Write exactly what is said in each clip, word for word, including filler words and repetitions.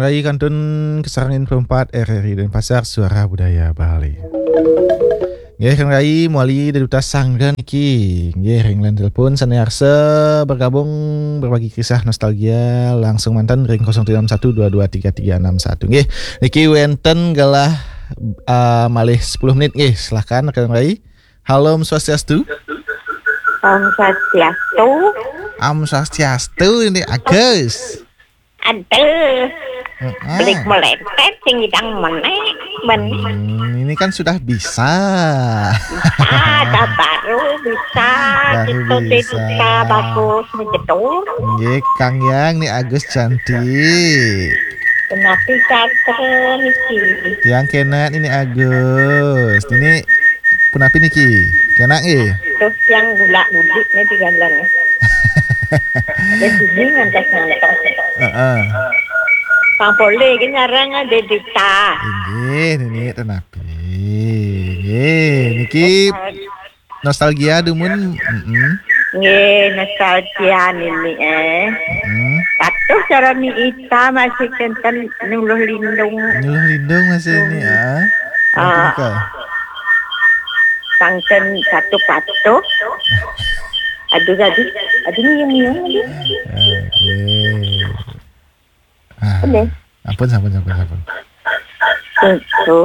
Rai kantun kasarengin perempat R R I Denpasar, Suara Budaya Bali. Nggih, Kang Rai, mawali Ida Duta Sangga niki. Nggih, ring line telepon sane arsa bergabung berbagi kisah nostalgia langsung manten ring kosong tujuh enam satu dua dua tiga tiga enam satu. Nggih, niki wenten galah, ah, malih sepuluh menit nggih. Silakan Kang Rai. Halo, Om Swastiastu. Om Swastiastu. Om Swastiastu, ini Agus. Aduh. Mm-mm. Belik melepet, sing idang menek, menek. Hmm, ini kan sudah bisa. Bisa, dah baru bisa. Baru kita bisa. Bisa bagus, menjedul. Nggih, Kang Yang, ni Agus cantik. Kenapa kata niki? Tiang kenak ini Agus. Ini punapi niki? Kenak nggih? Terus yang gula-gulik ni di jalan. Dia sini ngantas-ngantas. Heeh. Pang poleh ke nyarang ada Duta. Inggih, nini tenapi. Nggih, niki nostalgia dumun. Mm-mm. Nggih, nostalgia nini, eh. Mm. Patuh cara ni ita masih kenten Nyuluh Lindung. Nyuluh Lindung masih ini, ah. Ah. Apa nikah? Sangken satu patuh. Aduh, aduh, aduh, nyium-nyium lagi. Oke. Ah, ampun, ampun, ampun, ampun. Itu.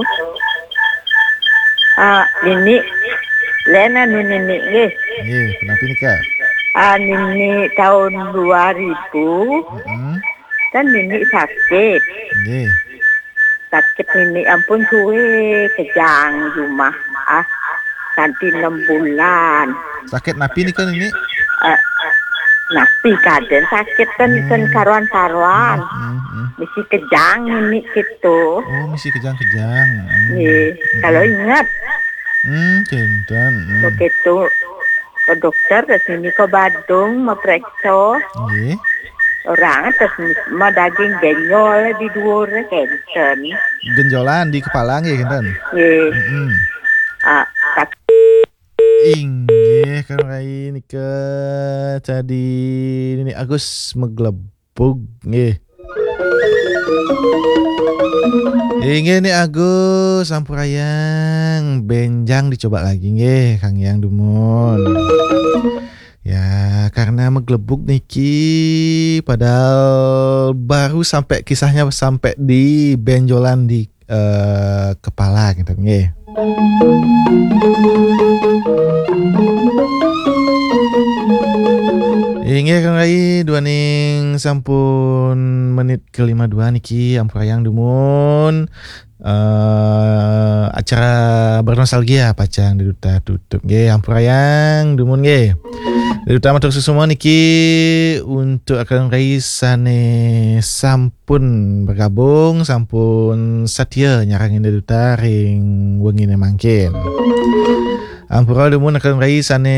Ah, nini, lain anu nini nggih. Nggih, punapi nikah? Ah, nini tahun dua ribu. Mm-mm. Kan nini sakit. Nggih. Sakit nini ampun suwe kejang jumah. Ah, kanti enam bulan. Sakit napi nika, Nini? Eh, napi kaden sakit kan, hmm, isen karuan-karuan. Hmm, hmm, hmm. Misi kejang ini gitu. Oh, misi kejang-kejang. Hmm. Nggih, hmm, kalau ingat. Hmm, kenten. Hmm. Begitu ke dokter, ke sini ke Badung, meperiksa. Nggih. Orang terus ma daging genyol di dhuwur kenten. Genjolan di kepala nggih kenten. Nggih. Mm-mm. Ah, kat- Inggih, Kang Rai nika tadi Nini Agus meglebug nggih. Inggih Ni Agus, sampurayang, benjang dicoba lagi nggih, Kang Yang dumun. Ya, karena meglebug niki, padahal baru sampai kisahnya sampai di benjolan di, eh, kepala gitu nggih. Inggih Kang Rai, duaning sampun menit ke lima dua niki, ampurayang dumun. Eh, acara bernostalgia pacang Ida Duta tutup nggih, ampurayang dumun nggih. Ida Duta matur suksma niki untuk Kang Rai sane sampun bergabung, sampun satia nyarengin Ida Duta ring wengine mangkin. Ampura dumun Kang Rai sane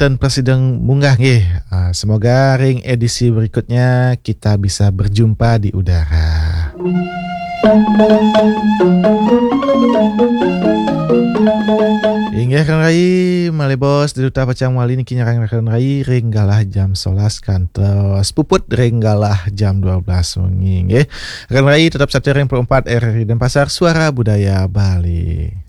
ten prasida munggah nggih. Ah, semoga ring edisi berikutnya kita bisa berjumpa di udara. Inggih Kang Rai, malih bos Ida Duta pacang mawali niki nyarengin Kang Rai ring galah jam sebelas kantos puput ring galah jam dua belas wengi nggih. Kang Rai tetap satia ring Pro empat R R I Denpasar, Suara Budaya Bali.